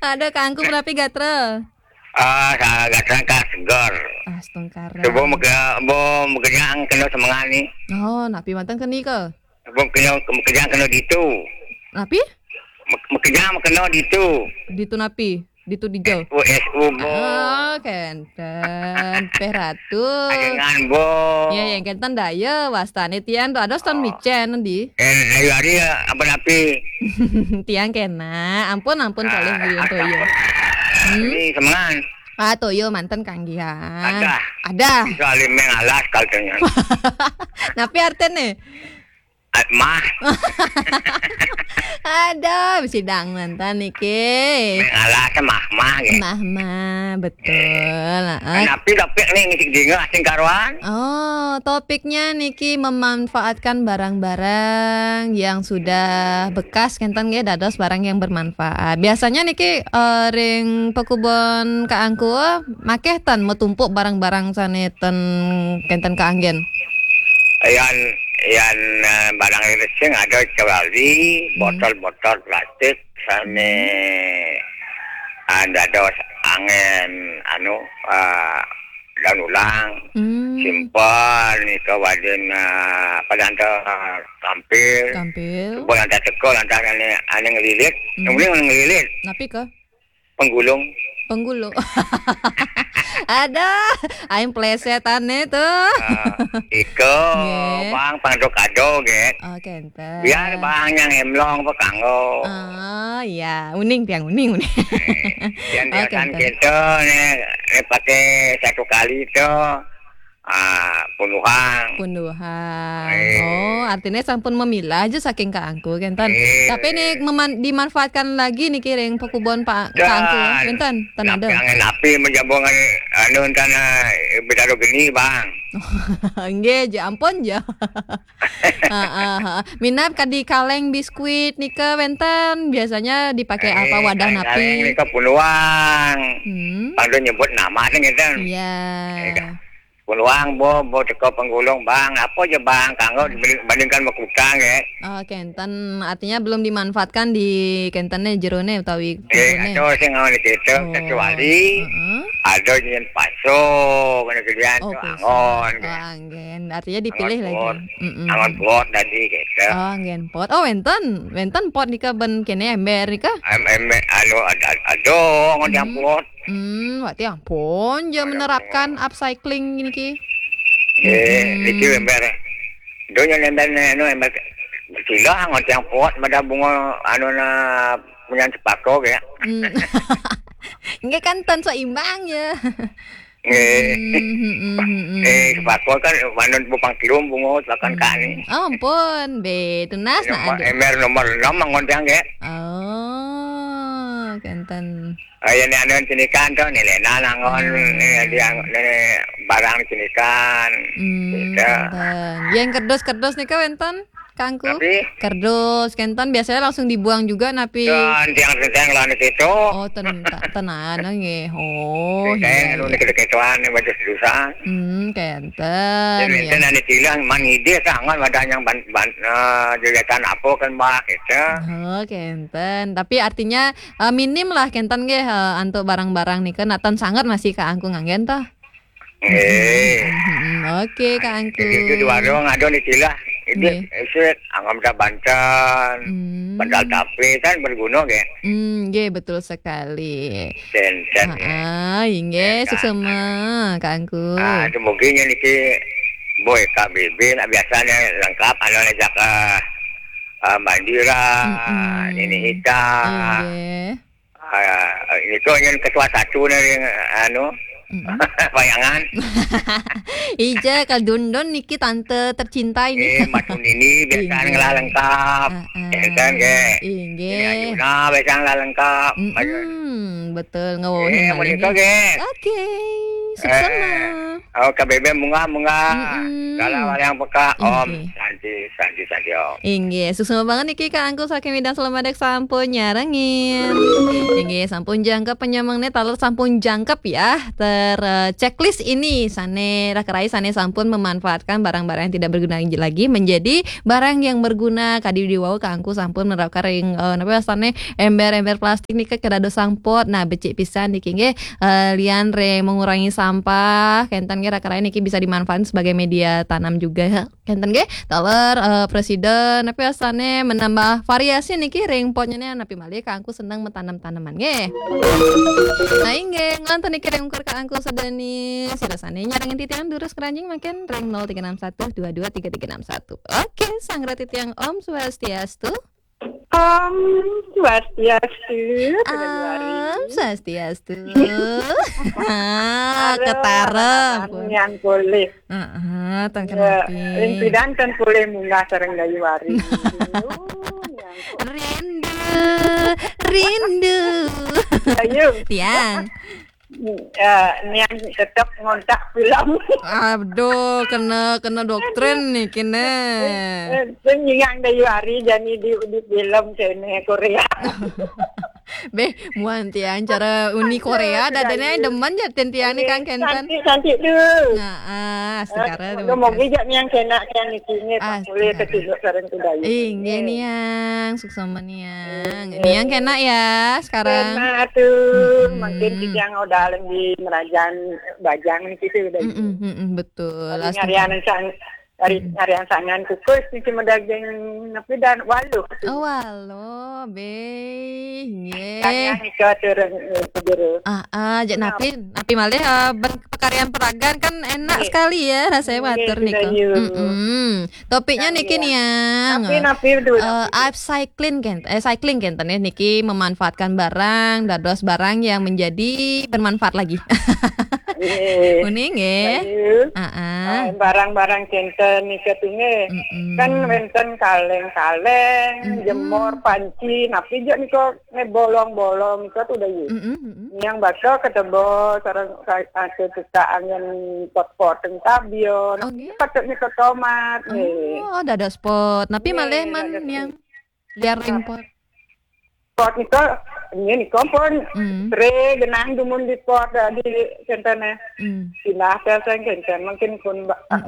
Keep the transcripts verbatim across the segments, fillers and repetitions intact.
Ada kangku menapi gatra? Ah, sa-, gatra ka seger. Astungkara. Subuh mega-, bo megenang kena semengan ni. Oh, napi manten keni ke? Subuh kena, megenang kena ditu. Napi? Me-, megenang kena ditu. Ditu napi? Ditu dija. S U, S U, bo. Ah, kenten. Peh ratu. Ajengan, bo. Ya, yang kenten daya. Wastane tiang tu ada Stone Micen di. Eh, ayo hari apa napi? Tiang kena. Ampun, ampun, kalih beli toyo. Hmm? Ini semengan. Ah, toyo manten kanggihan. Ada. Ada. Itu alim yang alas kaltanya. Napi artene? Ah, mah. Ada, sidang manten niki. Yang alas mah, mah, ya. Mah, mah, betul. Ah. Napi tapi ni ngisi dinga asing karuan. Oh, topiknya niki memanfaatkan barang-barang yang sudah bekas kenten nggih dados barang yang bermanfaat. Biasanya niki, eh, ring pekubon Kak Angku makeh ten metumpuk barang-barang sane ten kenten kaanggen. Yan, yan, eh, barang resing ada kecuali botol-botol plastik sane, ah, dados angen anu, ah, daun ulang. Hmm. Simpan nika wadin, ah, apa lantas tampil. Tampil. Buat lantas teko, lantas ane, ane ngelilit. Hmm. Kemudian ane ngelilit. Napi ke? Penggulung. Penggulung. Ada, aing plesetane tuh. Ah, iko, nggih. Bang, pangdok ado, nggih. Oh, kenten. Biar bang yang emlong apa kanggo. Ah, iya, uning tiang uning, uning. Eh, yang oh, biasa kenten. Kita nih, nih pakai satu kali tuh. Ah, punduhang. Punduhang. Eh. Oh, artinya sampun memilah aja saking Kak Angku, kenten. Eh. Tapi nih meman-, dimanfaatkan lagi nih kiring pekubon Pak Kak Angku, kenten. Ten ada. Yang napi menjabungan anu tanah, eh, betaro geni, Bang. Nggih, ja ampun ja. Heeh, heeh. Minab kadi kaleng biskuit nika wenten, biasanya dipakai apa, eh, wadah kaleng, napi? Kaleng nika punduhang. Hmm. Pangdo nyebut nama sih ngeten. Iya. Eh, Puluang, bo, bo teko penggulung, Bang. Apa je, Bang? Kanggo dibanding-, bandingkan sama kutang, ya. Oh, kenten. Artinya belum dimanfaatkan di kentene jerone utawi eh, jerone. Ada sing ngon kita, oh, kecuali heeh. Ada yang paso, kena kerjaan oh, tu paso. Angon, oh, ya. Anggen. Artinya dipilih angon lagi. Pot. Mm-mm. Angon pot tadi, gitu. Oh, anggen pot. Oh, wenten. Wenten pot nika ben kene ember nika? Em-, ember, anu, ada, ada, angon yang pot. Hmm, berarti ampun, je menerapkan upcycling niki. Eh, hmm. Niki ember. Donya ember, anu, ember. Sila ngon tiang pot, mada bunga, anu, na, punyan sepako, ya. Hmm. Nggih kan ten seimbang, ya. Nggih. Hmm, hmm, hmm, hmm, hmm. Eh, sepako kan, manun bupang kilum, bunga, silakan hmm. Kak ni. Oh, ampun, be, tunas nak nomor, ada. Ember nomor enam, ngon tiang, ya. Oh, kenten. Ah, ya, ni anu cinikan tu, ni Lena nangon, hmm. Ni dia, ni barang cinikan. Hmm, gitu. Kenten. Yang kerdus-kerdus nika wenten, Kangku? Tapi? Kerdus, kenten biasanya langsung dibuang juga, napi? Dan tiang-tiang lah ni situ. Oh, ten-, ta-, tenan, nggih. Oh, saya iya, anu iya. Ni kita ketuaan ni baju susah. Hmm, kenten. Jadi ya. Wenten anu tilang, man ide sangat wadah yang ban-, ban-, eh, jejatan apa kan, Mbak, gitu. Oh, kenten. Tapi artinya eh, minim lah kenten nggih, eh, antuk barang-barang nika natan sanget masih Kak Angku nganggen toh. Eh. Hmm, hmm, hmm. Oke, Kak Angku. Itu di warung ada ni silah. Ini nggih. Esit, anggam dah banten, hmm. Bantal tape kan berguna nggih. Hmm, nggih, betul sekali. Kenten, nggih. Ah, inggih, kenten. Suksema, Kak Angku. Ah, itu mungkin yang niki boy K B B nak biasanya lengkap, anu ajak, eh, ah, Mandira, mm-mm. Nini Hita. Inggih. Ah, ini kau yang ketua satu ni, anu, mm-mm. Bayangan. Ija, Kak Dundun niki tante tercinta ini. Eh, Matu Nini, biasa inggih. Ngelah lengkap. Ah, ah. Ya kan, ke? Inggih. Ini Ayuna, biasa ngelah lengkap. Mm-mm, betul, ngawohin eh, malih menikah, ni. Ke? Oke. Suksma. Oh, K B B munggah, munggah. Mm-mm. Dalam yang peka, Om. Inggih. Santi, santi, santi, Om. Inggih, suksma banget niki Kak Angku saking Midang Selamadek sampun nyarengin. Inggih, sampun jangkep penyameng nih, taler sampun jangkep ya. Ter eh, checklist ini sane rakerai sane sampun memanfaatkan barang-barang yang tidak berguna lagi menjadi barang yang berguna. Kadi diwau Kak Angku sampun menerapkan ring eh, napa sane ember-ember plastik nih ke dados sampot. Nah, becik pisan niki nggih eh, lian ring mengurangi sampah, kenten nggih rakerai niki bisa dimanfaatkan sebagai media tanam juga. Kenten nggih, taler eh, presiden tapi asane menambah variasi niki ring potnya nih, napi malih Kak Angku seneng menanam tanaman nggih. Nah, inggih, ngonten niki ring ukur Kak Angku sedeni, sirasane nyarengin titiang durus keranjing makin ring nol tiga enam satu dua dua tiga tiga enam satu. Oke, sanggra titiang Om Swastiastu. Om Swastiastu, Om Swastiastu. Ah, ketara. Yang boleh. Heeh, tang kenapi. Ring pidan kan boleh munggah sareng Dayu Wari. Rindu, rindu. Ayo. Tiang. Eh, niang tetap ngontak pulang. Aduh, kena kena doktrin nih kena. Eh, eh, Sing nyingang Dayu Wari jani di di film kene Korea. Beh, muan tiang cara Uni Korea dadane demen ya tiang nih Kang Kenten. Cantik cantik tu. Nah, ah, sekarang moga-moga jak niang kena yang niki ni tak boleh kecil sareng tu Dayu. Inggih niang, suksma niang. Niang kena ya sekarang. Kena tu, mungkin tiang udah lagi merajang bajang ni kita udah. Mm-mm, mm-mm, betul. Nyarian sang hari nyarian sangan kukus ni cuma daging napi dan waluh. Oh, waluh, be. Nggih. Kaya ni ke turun jero. Ah, ah, jak napi, napi malih eh, ben- pekarian peragan kan enak sekali ya rasanya water nika. Mm-mm. Topiknya niki niang. Napi napi dulu. Eh, upcycling kan, eh, cycling kan tadi niki memanfaatkan barang, dados barang yang menjadi bermanfaat lagi. Nggih. Uning nggih. Heeh. Barang-barang kenten nika tu nggih. Kan wenten kaleng-kaleng, jemur, panci, napi je nika nggih bolong-bolong nika tu Dayu. Yang bakal ketebo sareng asa tuka angin pot-pot teng tabion. Patut nika tomat nggih. Oh, dados pot. Napi malih man yang liar ring pot. Pot nika ini nika pun sering genang dumun di pot eh, di kenten eh. Pindah ke sing kenten mungkin pun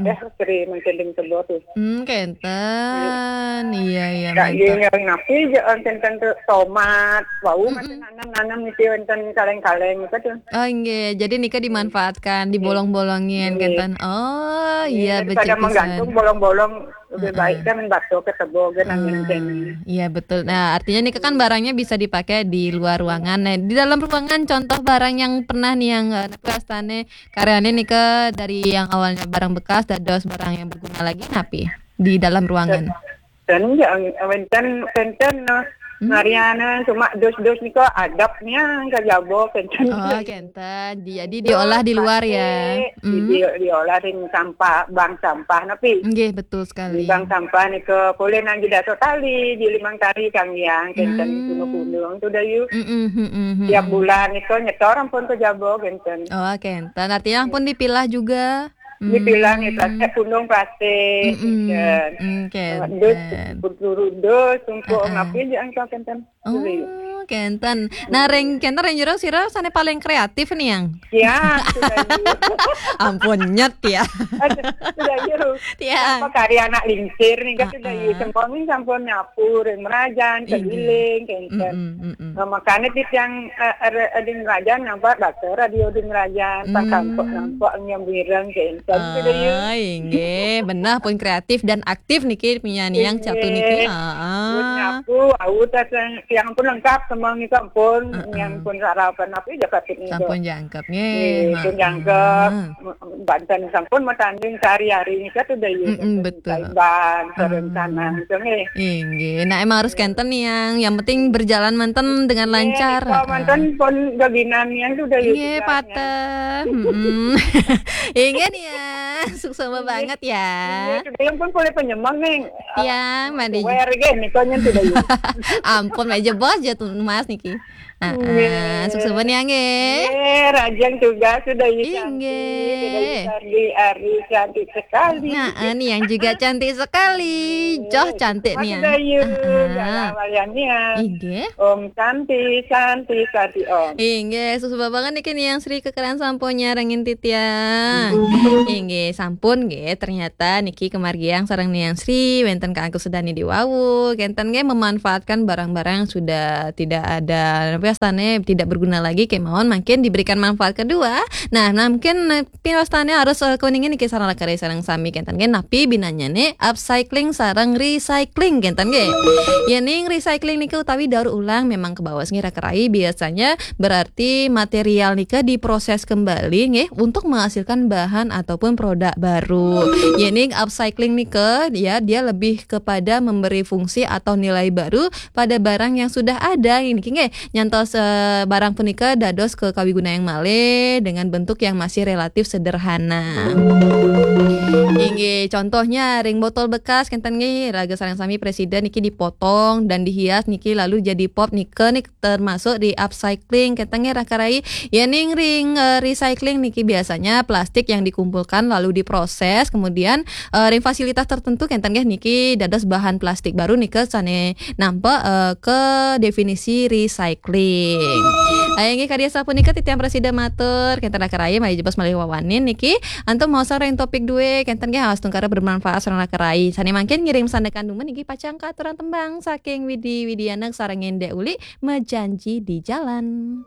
eh sering mungkin ding tebo tu. Hmm, kenten. Iya, iya. Kak yang napi je kenten tu tomat, bau macam nanam-nanam itu wenten kaleng-kaleng nika tu. Oh, nggih. Jadi nika dimanfaatkan, dibolong-bolongin kenten. Oh, iya, becik pisan. Daripada menggantung bolong-bolong lebih baik kan bato ketebo kan angin. Iya, betul. Nah, artinya nika kan barangnya bisa dipakai di luar ruangan. Nah, di dalam ruangan contoh barang yang pernah nih yang eh, napi astane karyane nika dari yang awalnya barang bekas dados barang yang berguna lagi napi di dalam ruangan. Dan ya wenten kenten no. Mariana cuma dus-dus nika adab niang ke jabo kenten. Oh, kenten. Jadi diolah di luar ya. Di, diolah ring sampah, bank sampah napi. Nggih, betul sekali. Bank sampah nika boleh nang di dato tali, di limang tali kang yang kenten gunung-gunung tu Dayu. Tiap bulan nika nyetor ampun ke jabo kenten. Oh, kenten. Artinya ampun dipilah juga. Dipilah nih plastik gunung plastik. Kenten. Dus, berduru dus, untuk napi je angka kenten. Oh, kenten. Nah, ring kenten ring jero sira sane paling kreatif nih yang. Ya, sudah. Ampun nyet ya. Sudah. Ya. Apa karya anak lingsir nih kan sudah. Sempong ini sampun nyapu, ring merajan, keliling, kenten. Nah, makanya di yang eh, ada ada merajan nampak bakso radio di merajan, pas sampok nampak yang bireng, kenten sudah. Ah, inggih, benar pun kreatif dan aktif niki penyanyi yang satu niki. Heeh. Aku, aku tas yang pun lengkap semua ni sampun, yang pun sarapan apa je patut ni. Sampun jangkep nggih. Pun jangkep. Banten sampun matanding sehari-hari ni satu Dayu. Mm-mm, betul. Bang, sareng sana tu nggih. Inggih. Nah, emang harus kenten yang yang penting berjalan manten dengan lancar. Manten pun gaginan yang tu Dayu. Nggih, pateh. Inggih nih ya. Suksma banget ya. Iya, sudah yang pun boleh penyemang nih. Tiang, mandi. Wer gen nih, konyol tidak ya. Ampun, meja bos jatuh mas niki. Heeh, suksma nih angge. Eh, Rajang juga sudah ya Inggih. cantik, sudah ya cantik, Ari cantik sekali. Nah, ini yang juga cantik sekali. Joh cantik nih ya. Sudah yuk, Heeh. Jalan Walian nih ya. Inggih. Om Santi, Santi, Santi Om. Inggih, suksma banget niki nih yang Sri kekeran sampun nyarengin titiang. Inggih, sampun nggih, ternyata niki kemargiang sareng Niang Sri wenten keangkus sedani di wau, kenten nggih memanfaatkan barang-barang yang sudah tidak ada, apa ya, stane tidak berguna lagi kemawon mungkin diberikan manfaat kedua. Nah, nah mungkin eh, pinostane harus eh, kuningin niki sareng lakare sareng sami kenten nggih napi binanyane upcycling sareng recycling kenten nggih. Yening recycling niki utawi daur ulang memang kebawas nggih raka rai biasanya berarti material nika diproses kembali nggih untuk menghasilkan bahan ataupun produk baru. Yening upcycling nika ya dia lebih kepada memberi fungsi atau nilai baru pada barang yang sudah ada niki nggih. Nyantos eh, barang punika dados ke kawigunayang malih dengan bentuk yang masih relatif sederhana. Inggih, contohnya ring botol bekas kenten nggih raga sareng sami presiden niki dipotong dan dihias niki lalu jadi pop nika nih termasuk di upcycling kenten nggih raka rai. Yening ring eh, recycling niki biasanya plastik yang dikumpulkan lalu diproses kemudian eh, ring fasilitas tertentu kenten nggih niki dados bahan plastik baru nika sane nampak eh, ke definisi recycling. Ayo nggih karya sapunika titiang presiden matur kenten raka rai mari jebos malih wawanin niki antum mau sareng topik dua kenten nggih awas tungkara bermanfaat sareng raka rai. Sane mangkin ngiring sandekan dumun niki pacang katuran tembang saking Widi Widiana sareng Ndek Uli mejanji di jalan.